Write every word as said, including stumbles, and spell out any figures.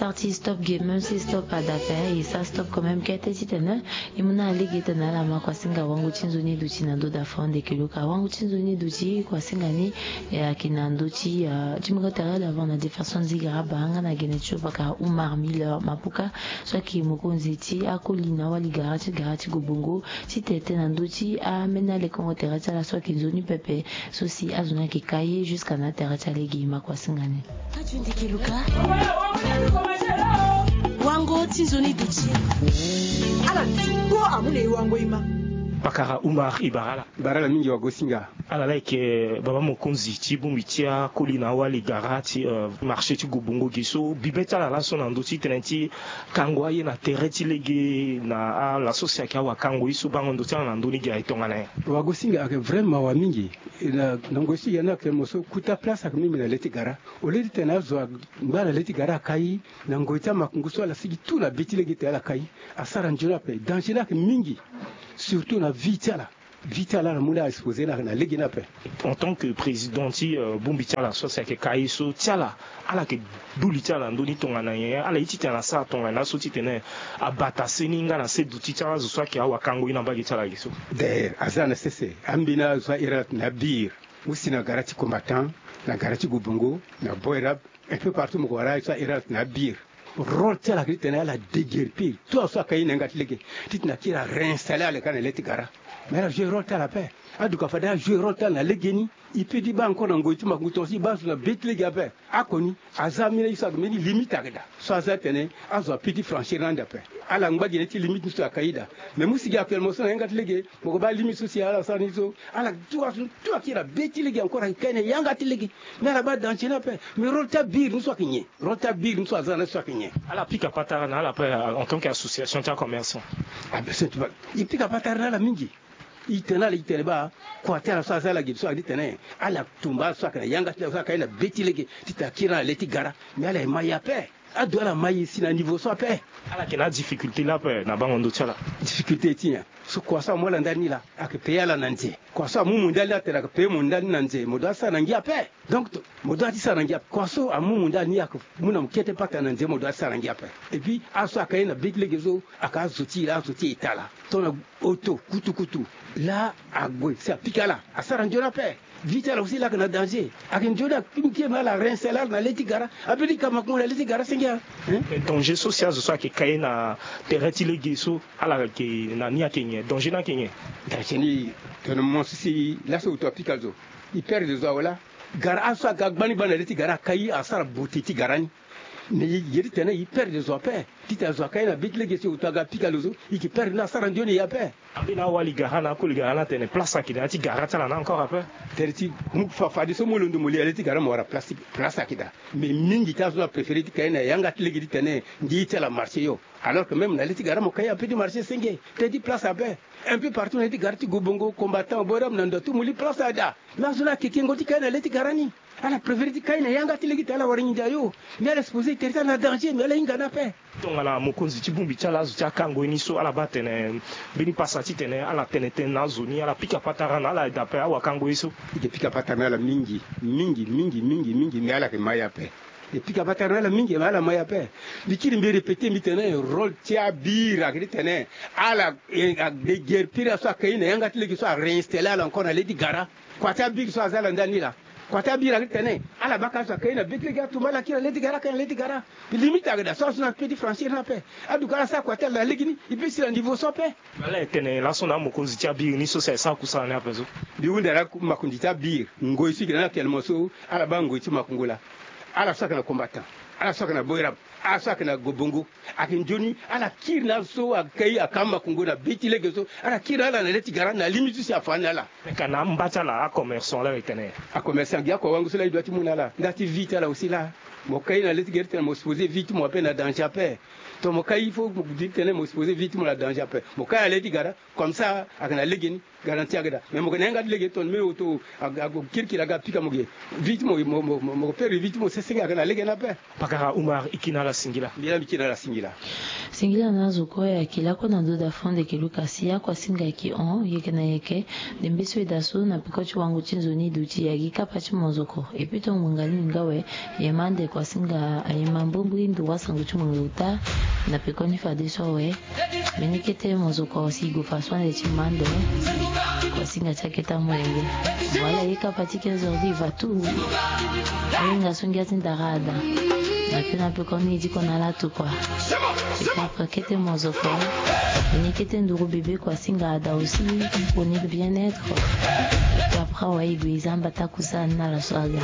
Parti stop game, même si stop ada ape, e sara stop quand même kete titene e mu na lege titene ala ma kuasinga wango ti nzoni duti na ndo da fond de keluka. Wango ti nzoni duti kuasinga ni, e, ayeke na ndö ti, ah, ti mungo tere d'avant na défense nziga aba nga na gene ti opaka Umar Miller Mapuka, so ayeke mokonzi ti akoli na awali gara ti gara ti Gobongo, titene na ndö ti ameni alekongo tere ti ala so ayeke nzoni pepe. So si azo ni ayeke ka ye jusqu'à na tere ti alege ma kuasinga ni. Wango ti nzoni duti. Ala ti kpo amu na e wango e ma. Pakara Umar, e bara ala. Bara ala mingi wagosinga. Ala la yeke baba mokonzi ti bongbi ti akoli na awali gara ti, euh, marché ti Gobongo ge so bibe ti ala laso na ndö ti tene ti kango aye na tere ti lege na ala so si ayeke awakango ye so bango ndo ti ala na ndö ni ge aye tongana nyen? Wagosinga ayeke vraiment mawa mingi. Na, na ngoi so e yanda ayeke mo so kuta place ayeke mimi na le ti gara. Au lieu ti tene azo angba na le ti gara akai, na ngoi ti amakungu so ala sigi tout na be ti lege ti tene ala kai, asara nzoni ape. Danger ni ayeke mingi, surtout na vie ti ala. Vie ti ala ala mu ni a exposer na, na lege ni ape. En tant que président ti, euh, bongbi ti ala so si ayeke kai so ti ala, ala yeke du li ti ala na ndö ni tongana nyen? Ala ye titene asara tongana nyen so titene abata seni nga na se duti ti ala azo so ayeke awakango ye na mbage ti ala ge so? D'ailleurs aza na sese, ambeni azo so ahiri ala tene abir. Mu si na gara ti Combattant, na gara ti Gobongo, na Boerab, un peu partout mo ko wara aye so ahiri ala tene abir. Rôle ti ala ayeke titene ala déguerpir tout azo so akai ye na yanga ti lege, titene akiri aréinstaller ala kâ na le ti gara. Mais ala jouer rôle ti ala ape. Aduka fade ajouer rôle ti ala na legeni. E peut ti baa encore na ngoi ti makungu tongaso e baa zo na be ti lege ape. Akoni aza ambeni aye so ayeke mbeni limite ayeke daa. So aza tene azo a peut ti franchir na ande ape. Ala ngba gene ti limite ni so akai daa. Mais mu si gi actuellement so na yanga ti lege, mo ko baa limite so si ala sara ni so, ala tout azo tout akiri na be ti lege encore ayeke kai na yanga ti lege. Mais ala baa danger ni ape. Mais rôle ti abir ni so ayeke nyen? Rôle ti abir ni so aza na so ayeke nyen? Ala pika patara na ala ape, euh, en tant que association ti acommerçant. Ah ben, c'est, e pika patara na ala mingi. E tene na ala, e tene baa kua ti ala so aza ala ge so ayeke titene ala tumba ala so ayeke na yanga ti lege so akai na be ti lege titene akiri na le ti gara. Mais ala ye ma ye ape. Ado ala ma ye si na niveau so ape. Ala yeke na adifficulté la ape na bango ndo ti ala. Difficulté ti nyen? So kua so amu ala ndali ni laa, ayeke payer ala na nze. Kua so amu mo ndali ni atene ayeke payer mo ndali ni na nze, mo doit ti sara na ngia ape. Donc to, mo doit ti sara na ngia ape. Kua so amu mo ndali ni ayeke mu na mo kete patara na nze, mo doit ti sara na ngia ape. Et puis azo so akai na be ti lege so ayeke azo ti e laa, azo ti État laa. Tongana auto kutukutu laa ague si apika ala, asara nzoni ape. Vie ti ala aussi laa ayeke na danger. Ayeke nzoni akpingike me ala réinstaller ala na le ti gara. Ape ti ka makongo na le ti gara senge, hein? Mais danger so si azo so ayeke kai na tere ti lege so, ala yeke na ni ayeke nyen? Danger ni ayeke nyen? Danger ni, tongana mo so si laso auto apika zo, e perdre zo awe laa. Gara azo so aga gbani gbani na le ti gara akai asara beauté ti gara ni. Mais e ye ti tene e perdre zo ape. Titene azo akai na be ti lege so auto aga apika lo so, e yeke perdre ni, asara nzoni e ape. Ambeni awali gara na akoli gara ni atene place ayeke na ya ti gara ti ala ni encore ape. Tere ti mu fa, fadeso mo londo mo li na le ti gara mo wara place, place ayeke daa. Mais mingi ti azo ni apréféré ti kai na yanga ti lege titene ngia ti ala marché yo. Alors que même na le ti gara mo kai ape ti marché senge, pe ti place ape. Un peu partout na le ti gara ti Gobongo, Combattant, Boerab, na ndo atu mo li place ada. Mais azo ni ayeke kengo ti kai na le ti gara ni. Ala préféré ti kai na yanga ti lege titene ala wara nginza yo. Mais ala exposer tere ti ala na danger, mais ala hinga ni ape. Tongana mokonzi ti bongbi ti ala, azo ti akango ye ni so, ala baa tene mbeni pasa titene ala tene tënë na azo ni, ala pika patara na ala daa ape awakango ye so. E yeke pika patara na ala mingi, mingi, mingi, mingi, mingi, mais ala yeke ma ye ape. E pika patara na ala mingi, mais ala ma ye ape. Mbi kiri mbi répéter mbi tene rôle ti abir ayeke ti tene ala, eh, adéguerpir azo so akai na yanga ti lege so, aréinstaller ala encore na le ti gara. Kua ti abir so aza ala ndani laa. Kua ti abir ayeke ti tene ala baka azo akai na be ti lege atumba ala kiri na le ti gara, akai na le ti gara. Limite ayeke daa so azo ni ape ti franchir ni ape. Aduka ala sara kua ti ala na legeni, e peut si na niveau so ape. Ala ye tene laso na amokonzi ti abir ni so si aye sara kusala ni ape so. Mbi hunda na makonzi ti abir, ngoi so e yeke na ni actuellement so, ala baa ngoi ti makongo laa. Ala so ayeke na Combattant, ala so ayeke na Boerab, ala so ayeke na Gobongo, ayeke nzoni ala kiri na azo so akai aka makongo na be ti lege so, ala kiri na ala na le ti gara na limite so si afa ni na ala. Ka na amba ti ala acommerçant laa e tene. Acommerçant gi akua wango so laa e doit ti mu na ala. Nda ti vie ti ala aussi laa. Mo kai na le ti gere ti tene mo exposer vie ti mo ape na danger ape. Tongana mo kai il faut mo di ti tene mo exposer vie ti mo na danger ape. Mo kai na le ti gara, comme ça ayeke na legeni, garantie ayeke daa. Mais mo yeke na yanga ti lege tongana mbeni auto ague kirikiri aga pika mo ge. Vie ti mo, mo, mo, mo, mo perdre vie ti mo sesenge ayeke na legeni ape. Pakara Umar, e kiri na ala singila. Mbi laa mbi kiri na ala singila. Singila na azo kue ayeke lakue na ndo da fond de keluka si akua singa ayeke hon, yeke na yeke. Dembe so e daa so na peko ti wango ti nzoni duti e agi kapa ti monzoko. E pito ngbonga ni nga awe, e ma ande. Kuasinga aye ma mbongbo i nduru asango ti mo na uta. Na pekoni fadeso awe, mbeni kete mo zo kua si i gue fa so ande ti mando. Kuasinga ti akete amolenge. Wala ye kapa ti quinze heures di i va tu. Ahinga so ngia ti ndara ada. Na pe na pekoni i diko na ala tu kua. Kapa kete mo zo kua. Mbeni kete nduru bebe kuasinga ada aussi. Pour ni bien-être. Kapa awe i gue i zamba taku sa na ala so aga.